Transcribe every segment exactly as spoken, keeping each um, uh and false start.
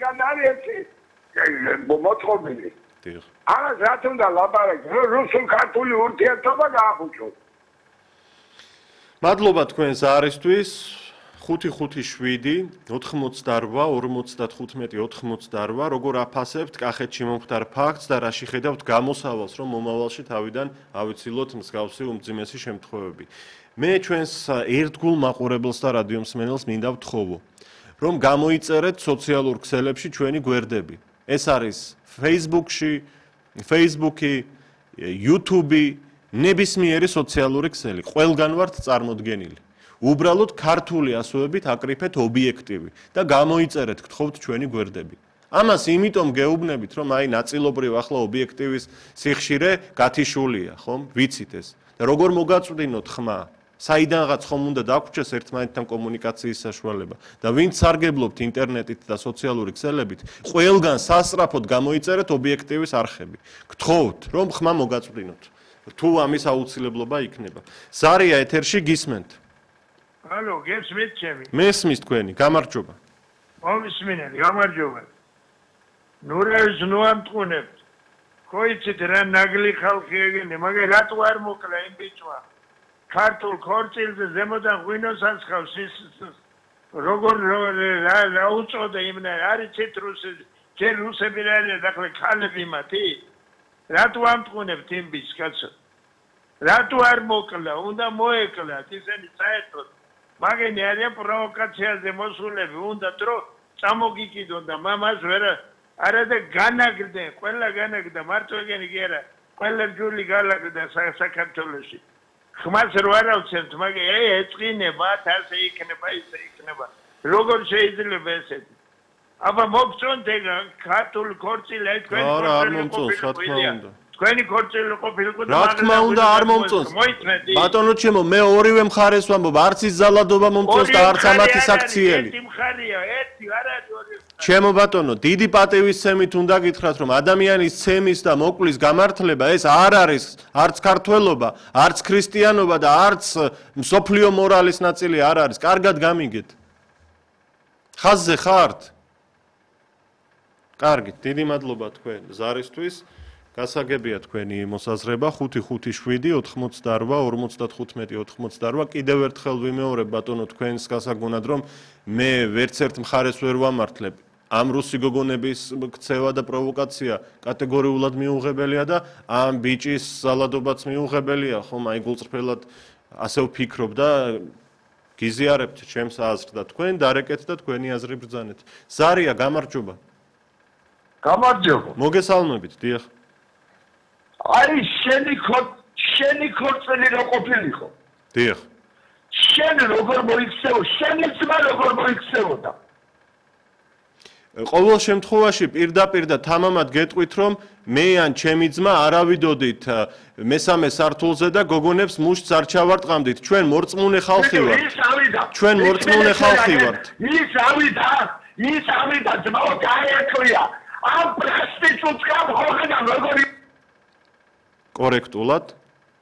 განარიებში მოწყობილი. ამას რა თუნდა ლაპარაკი, რუსულ ქართული ურთიერთობა გაახუჭო. მადლობა თქვენს არისთვის. ხუთი ხუთი შვიდი ოთხმოცდარვა ორმოცდათხუთმეტი ოთხმოცდარვა როგორ აფასებთ კახეთში მომხდარ ფაქტს და რა შეხედავთ გამოსავალს რომ მომავალში თავიდან ავიცილოთ მსგავსი უმძიმესი შემთხვევები. მე ჩვენს ერთგულ მაყურებელს და რადიო მსმენელს მინდა ვთხოვო რომ გამოიწერეთ სოციალურ ქსელებში ჩვენი გვერდები. ეს არის Facebook-ში, Facebook-ი, YouTube-ი, ნებისმიერი სოციალური ქსელი. ყველგან ვართ წარმოდგენილი. უბრალოდ ქართული ასოებით აკრიფეთ ობიექტივი და გამოიწერეთ გთხოვთ ჩვენი გვერდები. ამას იმიტომ გეუბნებით, რომ აი ნაწილობრივ ახლა ობიექტივის სიხშირე გათიშულია, ხომ? ვიცით ეს. და როგორ მოგაწვდინოთ ხმა? საიდანღაც ხომ უნდა დაგვრჩეს ერთმანეთთან კომუნიკაციის საშუალება და ვინც სარგებლობთ ინტერნეტით და სოციალური ქსელებით, ყველგან სასწრაფოდ გამოიწერეთ ობიექტივის არხები. გთხოვთ, რომ ხმა მოგაწვდინოთ. თუ ამის აუცილებლობა იქნება. ზარია ეთერში გისმენთ. ალო, გესმით ჩემი? მესმის თქვენი, გამარჯობა. მომისმინეთ, გამარჯობა. ნურევს ნუ ამტყუნებთ. ხოიცით რა ნაგლი ხალხი ეგენი, მაგრამ რატო არ მოკლა იმ ბიჭმა? ქართულ ქორწილზე ზემოდან ღვინოს ასხავს ის როგორ რა უწოდა იმნა არიცით რუსი ჯერ რუსები რა არის ახლა ქალები მათი რატო ამტყუნებთ იმ ბიჭს კაცო რატო არ მოკლა უნდა მოეკლათ ისინი საერთოდ მაგენი არიან პროვოკაციაზე მოსულები უნდა დრო წამოგიკიდონ და მამას ვერ არა და განაგდე ყველა განაგდა მარტო ეგენი კი არა ყველა ჯული განაგდა საქართველოში ხმას რო არ ავცემთ, მაგრამ ე ეწყინება, ასე იქნება, ისე იქნება. როგორ შეიძლება ესეთი? აბა მოგწონთ ეგ ქართული ქორწილი, აი თქვენი ქორწილი. თქვენი ქორწილი ყოფილიყო და რა თქმა უნდა არ მომწონს. ბატონო ჩემო, მე ორივე მხარეს ვამბობ, არც ის ზალადობა მომწონს და არც ამათი საქციელი. ერთი მხარეა, ერთი არ არის ორი. ჩემო ბატონო, დიდი პატივისცემით უნდა გითხრათ, რომ ადამიანის ცემის და მოკლის გამართლება ეს არ არის არც ქართველობა, არც ქრისტიანობა და არც მსოფლიო მორალის ნაწილი არ არის. კარგად გამიგეთ. ხაზზე ხართ? კარგით, დიდი მადლობა თქვენ ზარისთვის. გასაგებია თქვენი მოსაზრება ხუთი ხუთი შვიდი ოთხმოცდარვა ორმოცდათხუთმეტი ოთხმოცდარვა კიდევ ერთხელ ვიმეორებ ბატონო თქვენს გასაგონად რომ მე ვერც ერთ მხარეს ვერ ვამართლებ ამ რუსი გოგონების ქცევა და პროვოკაცია კატეგორიულად მიუღებელია და ამ ბიჭის ზალადობაც მიუღებელია ხომ აი გულწრფელად ასე ვფიქრობ და გიზიარებთ ჩემს აზრს და თქვენ დარეკეთ და თქვენი აზრი ბრძანეთ ზარია გამარჯობა გამარჯობა მოგესალმებით დიახ აი შენი შენი ქორწილი რო ყოფილიყო დიახ შენ როგორ მოიქცეო შენი ძმა როგორ მოიქცეოდა ყოველ შემთხვევაში პირდაპირ და თამამად გეტყვით რომ მე ან ჩემი ძმა არავიდოდით მესამე სართულზე და გოგონებს მუშტს არ ჩავარტყამდით ჩვენ მორწმუნე ხალხი ვართ ჩვენ მორწმუნე ხალხი ვართ ის ავიდა ის ავიდა ძმაო გაიაქვია ამ პრესტიჟს გამოგენა როგორი კორექტულად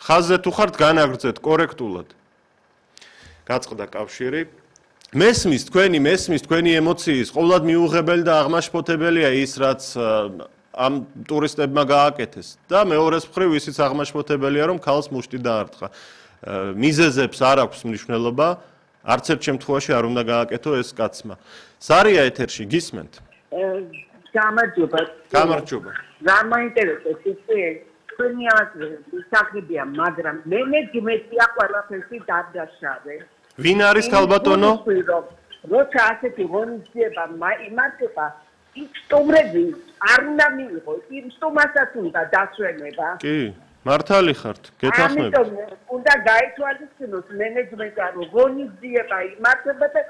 ხაზზე თუ ხართ განაგრძეთ კორექტულად გაწყდა კავშირი მესმის თქვენი მესმის თქვენი ემოციის ყოვლად მიუღებელი და აღმაშფოთებელია ის რაც ამ ტურისტებმა გააკეთეს და მეორეს მხრივ ისიც აღმაშფოთებელია რომ ქალს მუშტი დაარტყა მიზეზებს არ აქვს მნიშვნელობა არც ერთ შემთხვევაში არ უნდა გააკეთო ეს კაცმა ზარია ეთერში გისმენთ გამარჯობა გამარჯობა რა მაინტერესებს ის თქვენი აზრი ისახებია, მაგრამ მე მე გიმეცია ყველაფერში დადაშავე. ვინ არის ქალბატონო? როცა ასეთი ღონისძიება იმართება, ის სტუმრები არ უნდა მიიღოს, იმ სტუმასაც უნდა დასვენება. კი, მართალი ხართ, გეთანხმებით. ამიტომ უნდა გაითვალისწინოს მენეჯმენტი, რომ ღონისძიება იმართება და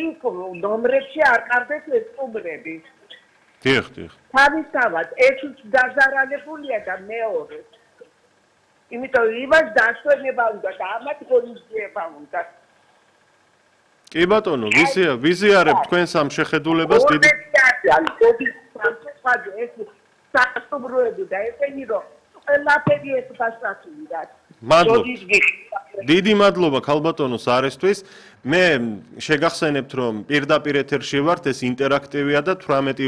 იქ ნომრებში არ ყავდეს ეს სტუმრები. დიახ, დიახ. თავისთავად ერთიც დაზარალებულია და მეორე. იმიტომ იმას დასვენება უნდა და ამათ ღონისძიება უნდა. კი ბატონო, ვიზია, ვიზიარებ თქვენს ამ შეხედულებას დიდი. ეს სასტუმროები და ესენი რომ ყველაფერი ეს ფასტაცია. მადლობთ. სოდის გიხ- დიდი მადლობა ქალბატონოს არესთვის. მე შეგახსენებთ რომ პირდაპირ ეთერში ვართ, ეს ინტერაქტივია და თვრამეტი